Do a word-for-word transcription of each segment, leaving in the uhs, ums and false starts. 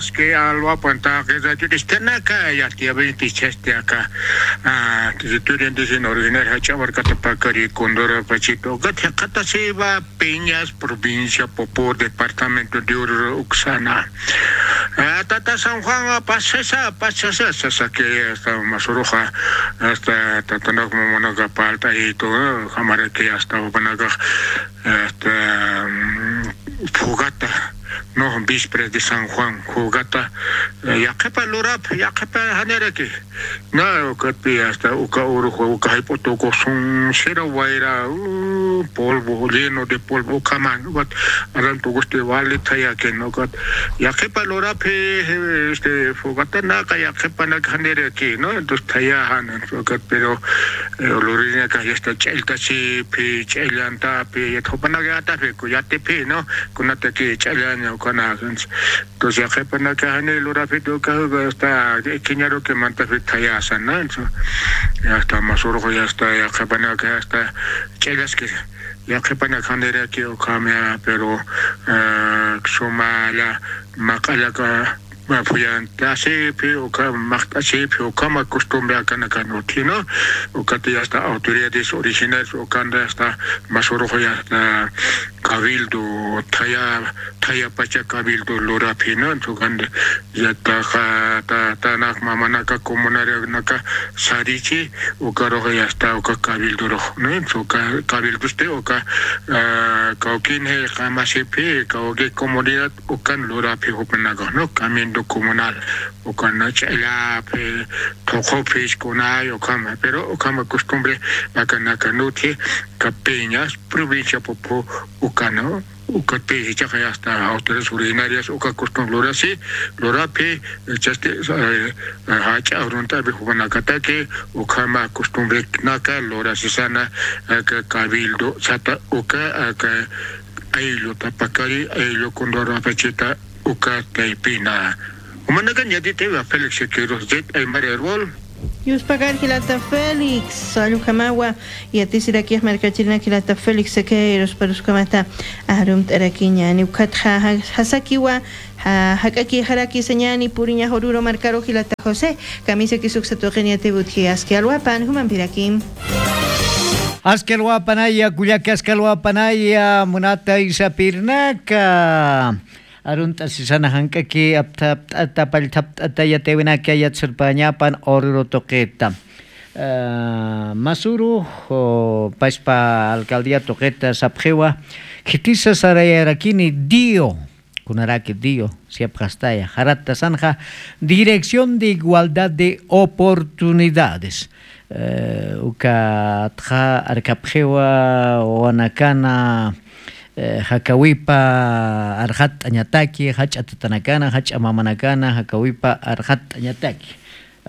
Alwapan taqi radioristanaka yatiyawinti chasti aka territorio indígena originario Jach'a Markatapakari Condoro Pachito ukat jiqatasiwa Peñas, provincia Popó, departamento de Oruro uksana. Tata San Juan pasasa pasasa sasaki hasta masuruxa hasta tatanak mamanaka palta y todo jamaraki hasta jupanakax hasta Fogata, no, víspera de San Juan, Fogata, yaqhipa lurap yaqhipa janiraki. Na ukatpi hasta uka uruxwa uka jayp'u tukusun sira wayra polvo lleno de polvo ukhaman ukat aran tukusti wali thayakin ukat yaqhipa luraphi este Fogatanaqa yaqhipanak janiraki, no, entonces thayajan ukat pero luririnakax yasta ch'alltasiphi ch'allantapi yathupanaka yatapi kuyatipi, no, kunataki ch'allaña ukana. Entonces yaqhipanaka jani lurapiti uka hasta ikiñaruki mantapi thayasa, no, entonces hasta masurux yasta yaqhipanaka hasta ch'allaski yaqhipanak janiraki ukhamia pero sumalla maq'allaka phuyantasipi uka maqt'asipi ukhama costumbre akanakan uthino. Ukati hasta autoridades originales ukanda hasta masurux hasta cabildo thaya thayapacha cabildo luraphino entonces ukanda yataxa tatanak mamanaka comunaranaka sarichi ukarux hasta uka cabildorux, no, entonces uka cabildosti uka kawkinay qamasipi kawki comunidad ukan luraphi jupanakax, no, cabildo comunal ukan ch'allapi thuqhuphis kunay ukhama pero ukhama costumbre akanaka nuthi. Capeñas provincia Popó ukana ukatpi jichhaxa hasta autoridades originarias uka costumbre lurasi luraphi chasti jach'a arunt'api jupanakataki ukhama costumbrenaka lurasisana aka cabildo sata uka aka aylluta pakari ayllu condoro apachita uka taypina. Umanakan yatitiwa Félix Siqueiros Zet Aymara Herbol. Yuspakar jilata Félix, allukamawa yatisirakix markachirinak jilata Félix Siqueiros paruskamata arumt'arakiña niwkhatxa jasakiwa. Jak'akixaraki sañani puriña jururu markaru jilata José. Kamisakis uksa tuqin yatiwutji aski alwapan jumampirakim. Aski alwapanaya kullaki aski alwapanaya munata isapirnaka. Arunt'asisana jank'aki apthapt'ata pallthapt'ata yatiwinaka yatsurpañapan ururu tuqita. Masuru paspa alcaldía tuqita sapxiwa khitisa sarayarakini dio. Kunaraki dio siapxastaya jaratasanxa dirección de igualdad de oportunidades. Ukatxa arkapxiwa wawanakana jakawipa arxatt'añataki jach'a tatanakana jach'a mamanakana jakawipa arxatt'añataki.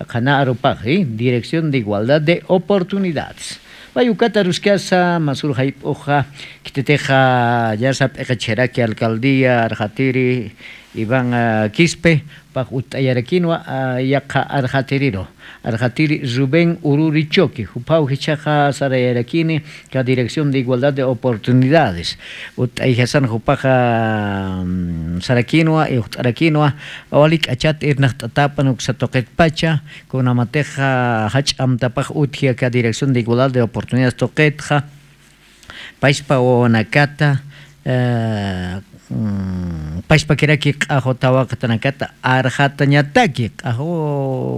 Qhana arupaxi dirección de igualdad de oportunidades. Pay ukata aruskasa masur jayp'uxa khititixa yasa p'iqichiraki alcaldía arxatiri iván quispe pax utt'ayarakinwa yaqha arxatiriru arxatiri rubén ururi choque juphaw jichhaxa sarayarakini ka dirección de igualdad de oportunidades. Utt'ayjasan jupaxa sarakinwa iwxt'arakinwa wali k'achat irnaqt'atapan uksa tuqitpacha kunamatixa jach'amtapax utji aka dirección de igualdad de oportunidades tuqitxa paspa wawanakata paspakiraki q'axu tawaqatanakata arxatañataki q'axu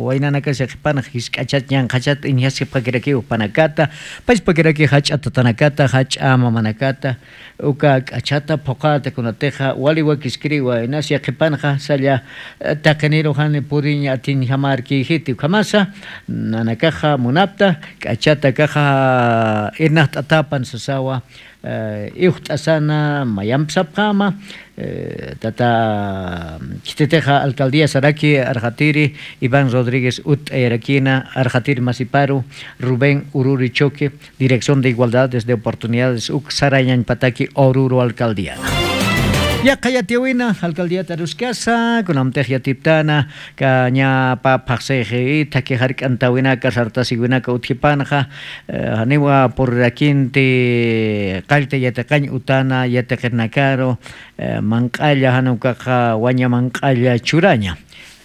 waynanakas yaqhipanx jisk'achat ñanqhachat iñjaskipxakirakiw jupanakata paspakiraki jach'a tatanakata jach'a mamanakata uka k'achata phuqata kunatixa wali wakiskiriwa inas yaqhipanxa salla taqiniru jani puriñ atiñjamarkïjiti ukhamasa nanakaxa munapta k'achatakaxa irnaqt'atapan sasawa iwxt'asana mayampsapxama tata khititixa alcaldía saraki arxatiri iván rodríguez utt'ayarakina arxatiri masiparu rubén ururi choque dirección de igualdades de oportunidades uk sarayañpataki ururu alcaldiana. Yaqha yatiyäwina alcaldíat aruskasa, kunamtix yatiptana, kañapa phaxsix itha jark'antawinaka, sartasiwinaka utjipanxa, eh, janiwa purirakinti qallta yatiqañ utana yatiqirnakaru, eh, manq'alla, jan ukaxa waña manq'alla churaña.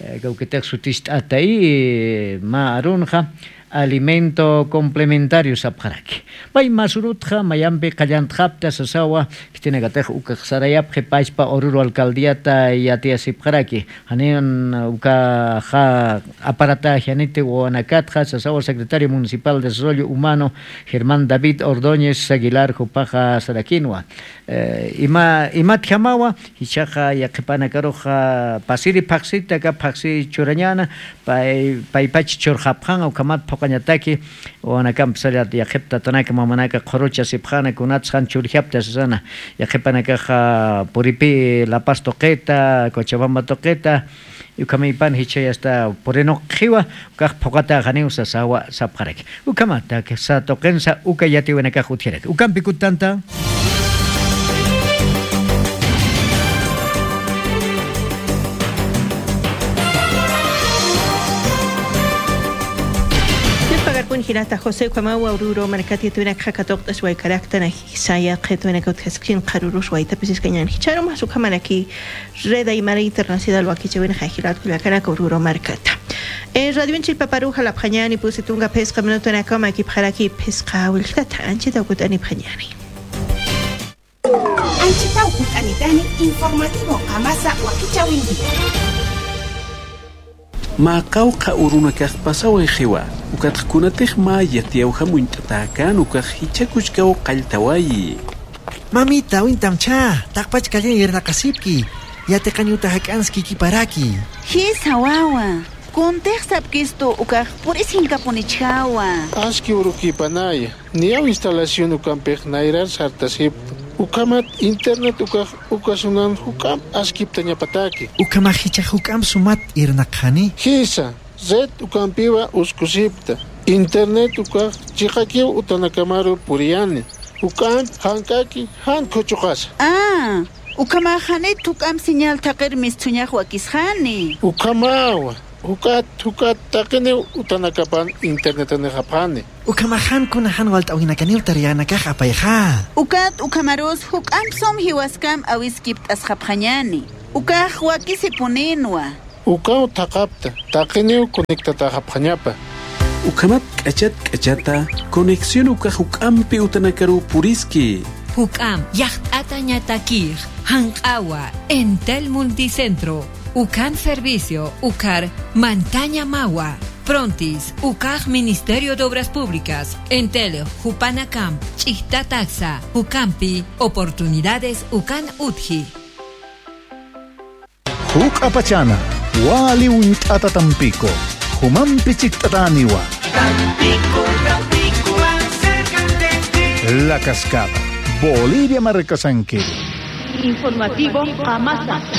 Eh, kawkitix sutist'ata, eh, mä arunxa alimento complementario sapxaraki. Pay mä surutxa mayampi qallantxapta sasawa, khitinakatix ukax sarayapxi pachpa Oruro alcaldíata yatiyasipxaraki. Janin ukaxa aparatajianiti wawanakatxa sasawa secretario municipal de Desarrollo Humano Germán David Ordóñez Aguilar jupaxa sarakinwa. Eh, ima, imatjamawa, jichhaxa yaqhipanakaruxa pasiri phaxsita, aka phaxsi churañäna, pay, paypach churxapxan, ukhamat phuqañataki, wawanakamp sallat yaqhip tatanaka mamanaka qhuruchasipxäna, kunats jan churjapta sasana, yaqhipanakaxa puripi La Paz tuqita, Cochabamba tuqita, ukhamïpan jichhay hasta purinuqxiwa, ukax phuqata janiw sasawa sapxaraki. Ukhamat, tuqinsa uka yatiyäwinakax utjaraki. Ukampi kuttanta. Pagarpun jinata José, ukhamawa Oruro markat yatiyäwinakxa katuqt'as waykaraktan, saya qhitwinaka utjasksin qharürus waytapis iskañän. Jichharumas ukhamaraki Red Aymara Internacional wakichäwinxa jilat kullakanaka Oruro markata. Eh, radioin chillpaparu jalapxañäni pusi tunka phisqa minutunakaw makipxaraki phisqa willkata, anchhitaw kut'anipxañäni. Anchhitaw kut'anitani informativo qamasa wakichäwinti. Mä qawqha urunakax pasawayxiwa, ukatxa kunatix mä yatiyäwjam uñt'atäkän ukax jichha kuchkaw qalltawayi. Mamita, uñtamchä, taqpach kallin irnaqasipki, yatiqañ uta jak'anskïkiparaki. Jisa wawa, kuntix sapkistu ukax puris jinkapunichjawa. Aski urukïpanaya, niyaw instalación ukampix nayrar sartasipta. Ukhamat internet ukax uka sunan juk'amp askiptañapataki. Ukhamax jichhax juk'amp sumat irnaqxani. Jisa, red ukampiwa uskusipta. Internet ukax chiqakiw utanakamaru puriyani. Juk'amp jank'aki jan khuchuqasa. Ah, ukhamax janit juk'amp señal thaqir mistsuñax wakisxani. Ukhamawa, juk'at, juk'at taqiniw utanakapan internetanixapxani. Ukhamax jan kuna jan walt'äwinakaniw taryanakax apayxa. Ukat ukhamarus juk'amp sum jiwaskam awiskipt'asxapxañäni. Ukax wakisipuninwa. Ukaw thaqapta, taqiniw conectatäxapxañapa. Ukhamat k'achat k'achata, conexión ukax juk'ampi utanakaru puriski. Juk'amp yaqt'atañatakix, janq'awa, Entel Multicentro, ukan servicio, ukar mantañamawa. Prontis, ukax Ministerio de Obras Públicas, Entel jupanakamp ch'ijtataksa, juk'ampi oportunidades ukan utji. Juk'apachana, wali uñt'ata Tampico, jumampi chikt'atäniwa. Tampico, Tampico, más cerca de ti. La Cascada, Bolivia markasankiru. Informativo Qamasa.